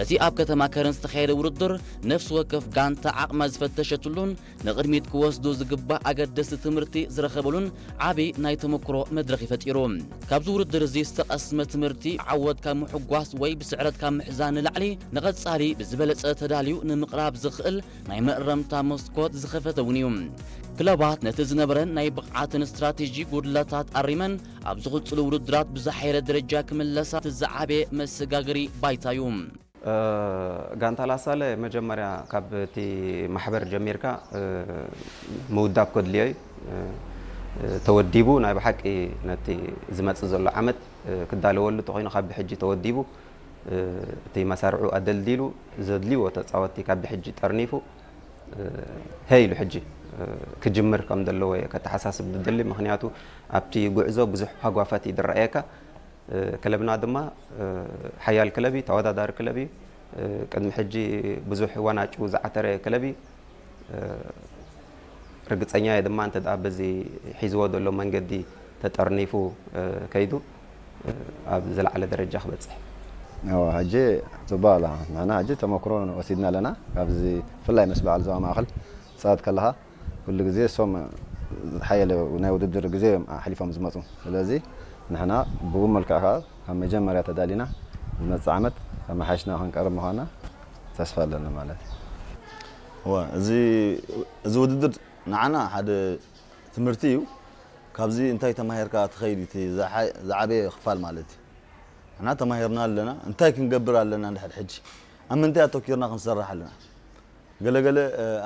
እቲ ኣብ ከተማ ከረን ዝተኻየደ ውድድር ነፍሲ ወከፍ ጋንታ ዓቕማ ዝፈተሸትሉን ንቕድሚት ክወስዱ ዝግባእ ኣገደስቲ ትምህርቲ ዝረኸበሉን ዓቢ ናይ ተመክሮ መድረኽ እዩ ፈጢሩ። ካብዚ ውድድር እዚ ዝተቐስመ ትምህርቲ ዓወት ካብ ምሕጓስ ወይ ብስዕረት ካብ ምሕዛን ንላዕሊ ንቐጻሊ ብዝበለጸ ተዳልዩ ንምቕራብ ዝኽእል ናይ መእረምታ መስኮት ዝኸፈተ እውን እዩ። ክለባት ነቲ ዝነበረን ናይ ብቕዓትን ስትራቴጂ ጉድለታት ኣሪመን ኣብ ዝቕጽሉ ውድድራት ብዝሓየለ ደረጃ ክምለሳ እቲ ዝዓበየ መሰጋገሪ ባይታ እዩ። ጋንታ ላሳለ መጀመርያ ካብ እቲ ማሕበር ጀሚርካ ምውዳብ ከድልዮ እዩ። ተወዲቡ ናይ ብሓቂ ነቲ ዝመጽእ ዘሎ ዓመት ክዳለወሉ ተኾይኑ ካብ ብሕጂ ተወዲቡ እቲ መሳርዑ ኣደልዲሉ ዘድልዎ ተጻወቲ ካብ ብሕጂ ጠርኒፉ ሄይ ኢሉ ሕጂ ክጅምር ከም ዘለዎ እየ ከተሓሳስብ ዝደሊ። ምኽንያቱ ኣብቲ ጉዕዞ ብዙሕ ሃጓፋት እዩ ዝረኣየካ። ክለብና ድማ ሓያል ክለብ እዩ፣ ተወዳዳሪ ክለብ እዩ። ቅድሚ ሕጂ ብዙሕ ዋናጩ ዝዓተረ ክለብ እዩ። ርግጸኛ እየ ድማ እንተ ደኣ በዚ ሒዝዎ ዘሎ መንገዲ ተጠርኒፉ ከይዱ ኣብ ዝለዓለ ደረጃ ክበጽሕ። እወ፣ ሕጂ ጽቡቕ ኣላ። ንሕና ሕጂ ተመክሮ ወሲድና ኣለና። ካብዚ ብፍላይ ምስ በዓል ዞባ ማእከል ትጻወት ከለኻ ኩሉ ግዜ እሶም ዝሓየለ ናይ ውድድር ግዜ እዮም ኣሕሊፎም ዝመጹ። ስለዚ ንሕና ብኡ መልክዕ ከኣ ካብ መጀመርያ ተዳሊና ዝመጽእ ዓመት ኣመሓይሽና ክንቀርብ ምዃንና ተስፋ ኣለና ማለት እዩ። እወ፣ እዚ እዚ ውድድር ንዓና ሓደ ትምህርቲ እዩ። ካብዚ እንታይ ተማሂርካ ትኸይድ እዩ እቲ ዝዓበየ ክፋል ማለት እዩ። ንሕና ተማሂርና ኣለና። እንታይ ክንገብር ኣለና? እንድሕር ሕጂ ኣብ ምንታይ ኣተኪርና ክንሰርሕ ኣለና? ገለገለ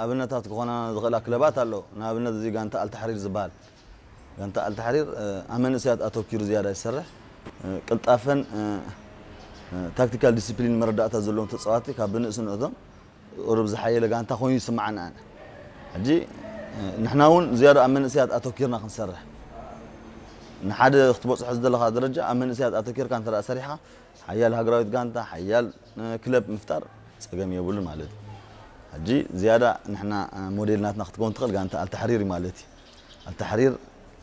ኣብነታት ክኾና ዝኽእላ ክለባት ኣለዎ። ንኣብነት እዚ ጋንታ ኣልታሕሪር ዝበሃል ጋንታ ኣልታሕሪር ኣብ መንእሰያት ኣተኪሩ ዝያዳ ይሰርሕ። ቅልጣፈን ታክቲካል ዲስፕሊን መረዳእታ ዘለዎም ተፃዋቲ ካብ ብንእስነቶም ቁሩብ ዝሓየለ ጋንታ ኮይኑ ይስምዓኒ ኣነ። ሕጂ ንሕና እውን ዝያዳ ኣብ መንእሰያት ኣተኪርና ክንሰርሕ፣ ንሓደ ክትበፅሖ ዝደለኻ ደረጃ ኣብ መንእሰያት ኣተኪርካ እንተ ደኣ ሰሪሕኻ ሓያል ሃገራዊት ጋንታ፣ ሓያል ክለብ ምፍጣር ፀገም የብሉን ማለት እዩ። ሕጂ ዝያዳ ንሕና ሞዴል ናትና ክትከውን ትኽእል ጋንታ ኣልታሕሪር እዩ ማለት እዩ። ኣልታሕሪር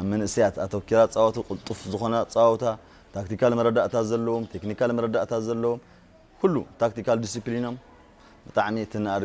ኣብ መንእሰያት ኣተኪራ ፃወቱ ቅልጡፍ ዝኾነ ኣፃወታ፣ ታክቲካል መረዳእታ ዘለዎም፣ ቴክኒካል መረዳእታ ዘለዎም፣ ኩሉ ታክቲካል ዲሲፕሊኖም ብጣዕሚ እቲ